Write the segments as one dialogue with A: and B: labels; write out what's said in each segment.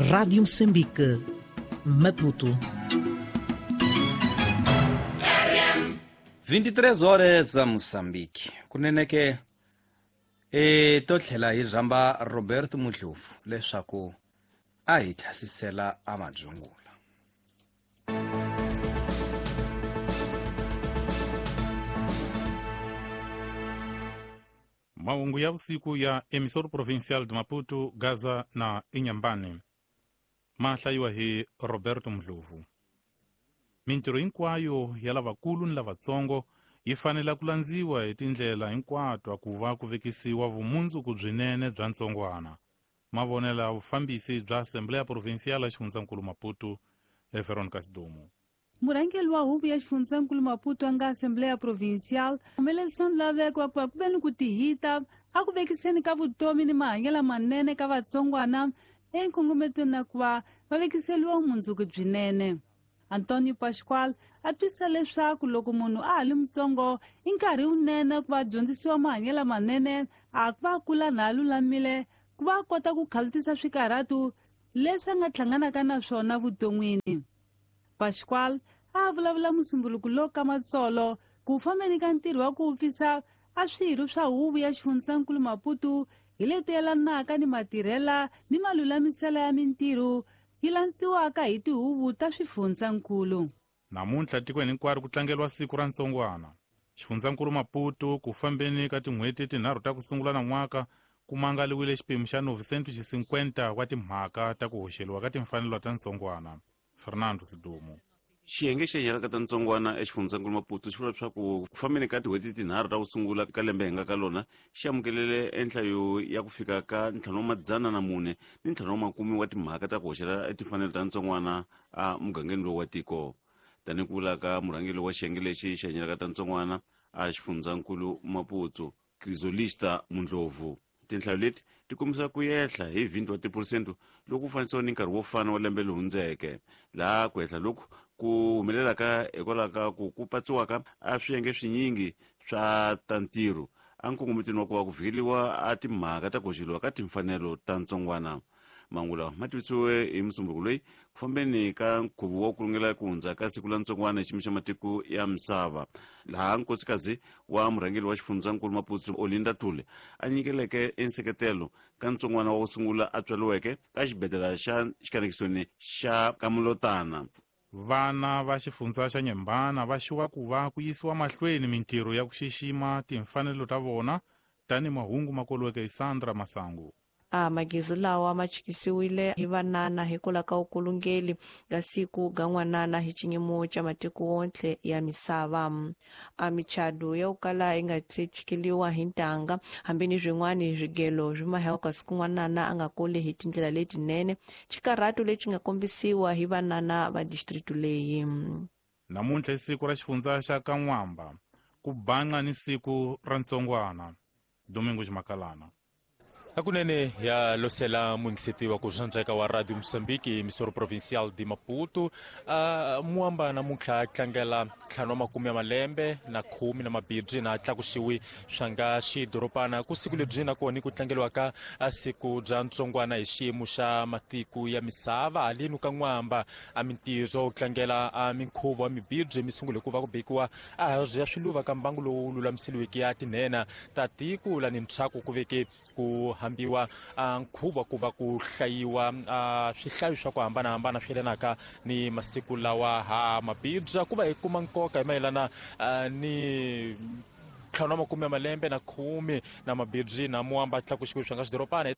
A: Rádio Moçambique, Maputo.
B: 23 horas a Moçambique. Kunene ke e to tlhela hi rhamba Roberto Mudlovu leswaku a hi thasisela a madzungula.
C: Mahungu ya vusiku ya Emissora Provincial de Maputo, Gaza na Inhambane ma hlayiwa hi Roberto Mdlovu. Mintirho hinkwayo ya lavakulu ni lavatsongo yi fanele ku landziwa hi tindlela hinkwato ku va ku vekisiwa vumundzuku byinene bya ntsongwana. Mavonelo ya vufambisi bya Assembleia Provincial ya Xifundzankulu Maputo, Veronica Sidumo.
D: Murhangeri wa huvo ya xifundzankulu Maputo a nga Assembleia Provincial humelerisa laveko wa ku va ku ve ni ku tihita a ku vekiseni ka vutomi ni mahanyelo manene ka vatsongwana enkongometweni na ku va va vekiseliwa vumundzuku byinene. Antonio Pascual a twisisa leswaku loko munhu a ha li mutsongo i nkarhi wunene ku va dyondzisiwa mahanyelo manene a ku va kula na a lulamile ku va a kota ku khalutisa swikarhatu leswi a nga hlanganaka na swona vuton'wini. Pascual a vulavula musumbuluku lowu ka matsolo ku fambeni ka ntirho wa ku vupfisa a swirho swa huvo ya xifundzankulu Maputo hi leti yelanaka ni matirhela ni malulamisela ya mintirho yi landziwaka hi tihuvo ta swifundzankulu.
C: Namuntlha tikweni hinkwaro ku tlangeriwa siku ra ntsongwana. Xifundzankulu Maputo ku fambeni ka tin'hweti tinharhu ta ku sungula na n'waka ku mangaliwile xipimo xa 950 wa timhaka ta ku hoxeliwa ka timfanelo ta ntsongwana. Fernando Sidumo.
E: Xiyenge xa nyalaka ta ntsongwana eXifundzankulu Maputo xi vula leswaku ku fambeni ka tin'hweti tinharhu ta ku sungula ka lembe hi nga ka lona xi amukelele enhlayo ya ku fika ka 504 ni 50 wa timhaka ta ku hoxela timfanelo ta ntsongwana a mugangeni lowu wa tiko. Tanihi ku vula ka murhangeri wa xiyenge lexi xa nyalaka ta ntsongwana a Xifundzankulu Maputo, Crisolista Mundlovu. Tinhlayo leti ti kombisa ku ehla hi 20 wa tiphesente loko ku fanisiwa ni nkarhi wo fana wa lembe leri hundzeke, laha ku ehla loku ku humelelaka hikwalaho ka ku ku patsiwaka a swiyenge swinyingi swa ta ntirho a nkongometweni wa ku va ku vhikeliwa a timhaka ta ku hoxeliwa ka timfanelo ta ntsongwana. Mahungu lawa ma tivisiwe hi Musumbhunuko loyi ku fambeni ka nkhuvo wa ku lungela ku hundza ka siku la ntsongwana hi xiyimo xa matiko ya misava, laha nkosikazi wa murhangeri wa xifundzankulu Maputo Olinda Thule a nyikeleke enseketelo ka ntsongwana wa ku sungula a tswariweke ka xibedhlele xa xikanekisweni xa Kamulotana.
C: Vana va xifundza xa Nyembana va xiwa ku va ku yisiwa mahlweni mintirho ya ku xixima timfanelo ta vona tanihi mahungu ma koliweke hi Sandra Masangu.
F: A magizu lawa ma chikisiwile hi vanana hikwalaho ka vukulungeli ga siku ga n'wanana hi xinyimo xa matiko wontlhe ya misava. A michado ya ku kala yi nga se chikeliwa hi ntanga hambi ni swin'wana swigelo swi mahewaka siku n'wanana a nga kuli hi tindlela letinene, xikarhato lexi nga kombisiwa hi vanana va district leyi.
C: Namuntlha i siku ra xifundza xa Kan'wamba, ku banqa ni siku ra ntsongwana. Domingo Ximakalana.
G: Hakunene ya losela muyingiseti wa ku swandzeka wa Radio Mozambique Emissora Provincial de Maputo. Muamba namuntlha tlangela 50 ya malembe na 10 na mabibyi na tlakusiwi swa nga xidorobana ku siku lebyi na kona ku tlangeliwa ka siku bya ntsongwana hi xiyimo xa matiko ya misava. Halenu ka N'wamba a mintirho ku tlangela a minkhuvo wa mibibyi mi sungule ku va ku bekiwa a ya swiluva ka mbangu lowu lulamiseliweke ya tinhena ta tiko la ni ntshaku ku veke ku hambiwa nkhuvo ku va ku hlayiwa swihlayo swa ku hambanahambana swi yelanaka ni masiku lawa ha mabibya ku va hi kuma nkoka hi mayelana ni 50 ya malembe na 10 na mabibyi na muamba tlakuxiwe swa nga xidorobana.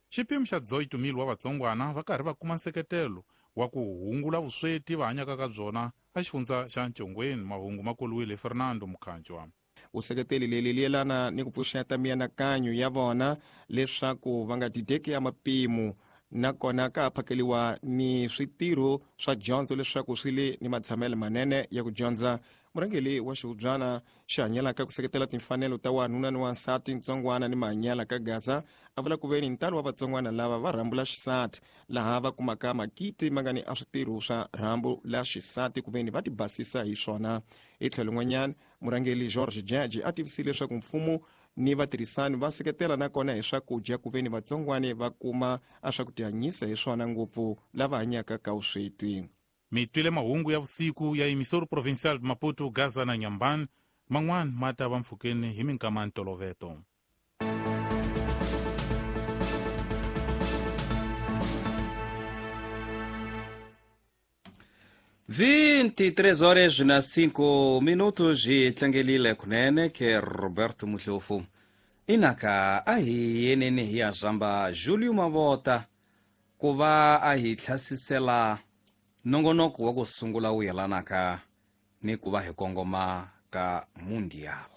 C: Xipimo xa 18,000 wa vatsongwana va karhi va kuma nseketelo wa ku hungula vusweti va hanyaka ka byona a xifundza xa Ntshongweni. Mahungu ma koliwile Fernando Mukhanjwa.
H: Vuseketeli leri li yelana ni ku pfuxeta mianakanyo ya vona leswaku va nga dideki ya mapimo, nakona ka phakeliwa ni switirho swa dyondzo leswaku swi le ni matshamelo manene ya ku dyondza. Murhangeri wa xihubyana xi hanyelaka ku seketela timfanelo ta wanuna ni wansati ntsongwana ni mahanyela ka Gaza a vula ku veni ntalo wa vatsongwana lava va rhambula xisati, laha va kumaka makiti ma nga ni a switirho swa rhambu la xisati ku veni va tibasisa hi swona. Hi tlhelo n'wanyana, murhangeri George Jaji a tivisile leswaku mfumo ni vatirhisani va seketela nakona hi swakudya ku ve ni vatsongwani va kuma a swa ku tihanyisa hi swona ngopfu lava hanyaka ka vusweti.
C: Mi twile mahungu ya vusiku ya emissora provincial de Maputo, Gaza na Inhambane. Man'wana ma ta va mpfhukeni hi minkama ntoloveto.
B: 23 horas na 5 minutos hi tlangelile kunene ke Roberto Muhlofu. Inaka a hi yeneni hi ya zamba Julio Mavota ku va a hi tlhasisela nongonoko wa ku sungula wu yelanaka ni ku va hi kongoma ka Mundial.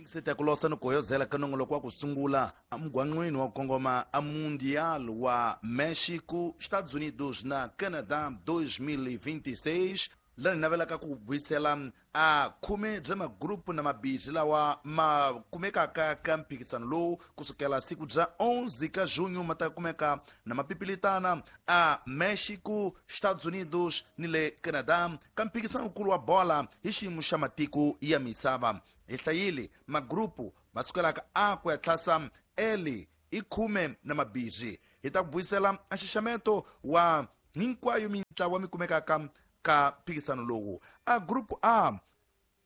I: Seta ku losa ni ku hoyozela ka nongoloko wa ku sungula emugwanqwini wa ku kongoma a Mundial wa México, Estados Unidos na Canadá 2026, laha ni navelaka ku buyisela a khume bya magrupu na mabisi lawa ma kumekaka ka mphikisano lowu kusukela siku bya 11 ka junho ma ta kumeka na mapipilitana a México, Estados Unidos ni le Canadá ka mphikisano wukulu wa bola hi xiyimo xa matiko ya misava. Hi hlayile magrupu ma sukelaka a ku ya tlhasa L i khume na mabisi. Hi ta ku buyisela a nxaxameto wa hinkwayo mintlawa mi kumekaka ka mphikisano lowu. A grupu A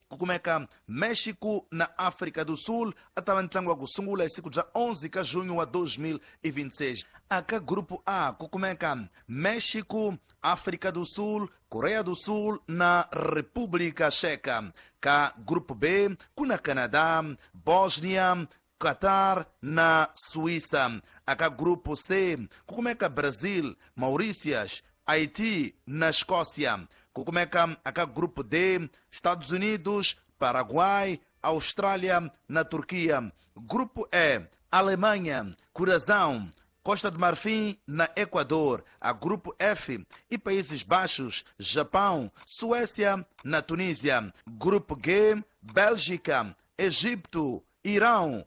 I: ku kumeka México na África do Sul, a ta va ntlangu wa ku sungula hi siku bya 11 ka junho wa 2026. A ka grupu A ku kumeka México, África do Sul, Coreia do Sul na República Checa. Ka grupo B ku na Canadá, Bósnia, Qatar na Suíça. A ka grupo C ku kumeka Brasil, Mauritius, Haiti na Escócia. Ku kumeka a ka grupo D, Estados Unidos, Paraguai, Austrália na Turquia. Grupo E, Alemanha, Curaçao, Costa do Marfim na Equador. A grupo F e Países Baixos, Japão, Suécia na Tunísia. Grupo G, Bélgica, Egito, Irão,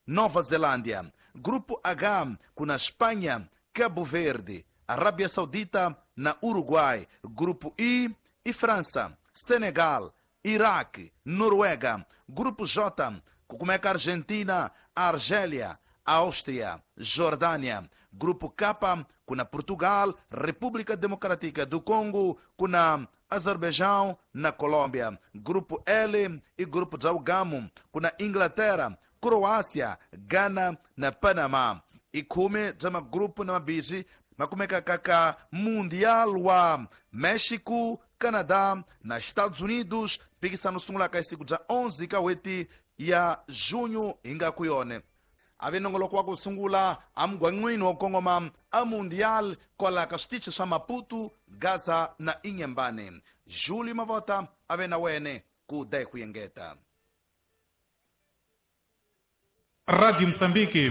I: Nova Zelândia. Grupo H, com a Espanha, Cabo Verde, Arábia Saudita na Uruguai. Grupo I e França, Senegal, Iraque, Noruega. Grupo J, com a Argentina, Argélia, Áustria, Jordânia. Grupo K, com a Portugal, República Democrática do Congo, com a Azerbaijão, na Colômbia. Grupo L e Grupo Jalgamo, com a Inglaterra, Croácia, Gana, na Panamá. E khume bya magrupu na mabisi ma kumekaka ka Mundial wa México, Canadá na Estados Unidos. Mphikisano sungulaka hi siku bya 11 ka n'hweti ya junho hi nga ku yona. A ve nongoloko wa ku sungula emugwanqwini wa ku kongoma a Mundial kwala ka switichi swa Maputo, Gaza na Inhambane. Julio Mavota a ve na wene ku da hi ku engeta.
C: Radio Moçambique,